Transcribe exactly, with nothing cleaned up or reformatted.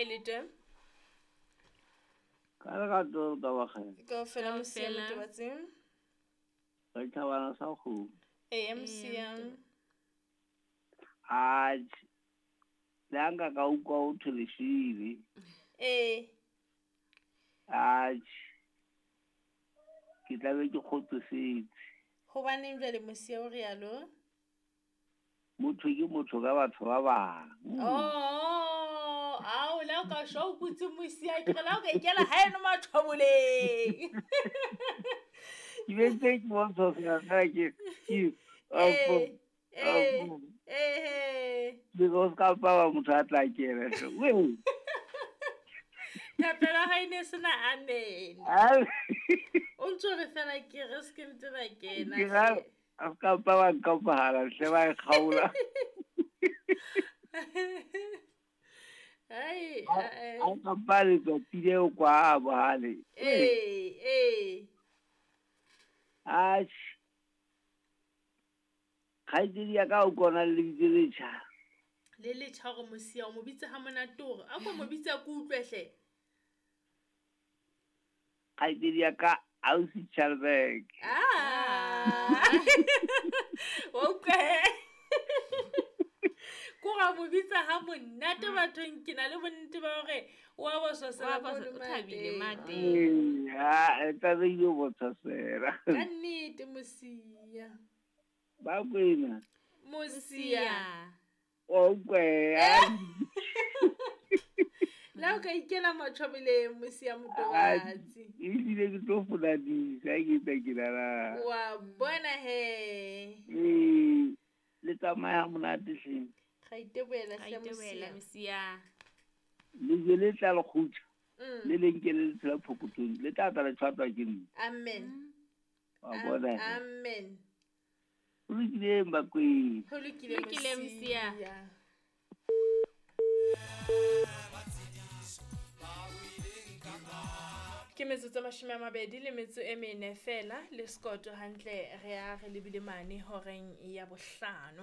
Kae le teng? Ka lerato ka bakgela. Kaofela Kaofela. Mosia Motobatsi. Re thabana sa kgomo. Ee, Mosia. Atjhe. Le ha nka ka utlwa ho thwe leshile. Ee. Atjhe. Ke tla be ke kgotsofetse. Hobaneng jwale Mosia o rialo? Motho ke motho ka batho ba bang. Oh, ao la o ka shwa o kutse Mosia, ke re la o ka ikela haeno mathoboleng. Ke be ntse ke bontsha fela fela ke ke Ee, ee, apo. ee. Ke go ska pa ba motho a tla kena. Wee. Thapelo ya hae ne sena amen. Ai. O ntso re fela ke re se ke mpe ba kena. Ke ra a ska pa ba nka mohala hle ba e kgaola. Ai, A eh. ka pa letsatsi leo kwa bohale. Ee, ee. Atjhe. Kgaitsedi ya ka o kona le lebitso le letjha. Le letjha hore Mosia o mo bitse ha monate hore a ko mo bitse ke utlwe hle. Kgaitsedi ya ka ausi Chalberg. Ah. Wa utlwa he? Ko ra mo bitsa ha monate bathong, ke na le bonnete ba hore wa bososela Wa bos- mono o thabile mateng. mate. Ee, ha, e tla be ile bososela. Ka nnete Mosia. Ba kwena. Mosia. Wa utlwa he? La o ka ikela matjhobeleng Mosia Motobatsi. Ehlile ke tlo foladisa ha ke tla ke lala. Wa bona he. Ee, le tsamaya ha monate hleng. Ra itebohela Ra hle itebohela Mosia. Mosia. Lejwe le tla le kgutla, Mm. le le nke le le tshela phokothong, le tla tla le tshwatwa ke nna. Amen. Wa bona he? Amen. Ho lokile Bakwena. Ho lokile Lokile, Mosia. Mosia. Ke metsotso e mashome a mabedi le metso e mene fela le sekoto hantle re a re lebile mane horeng ya bohlano.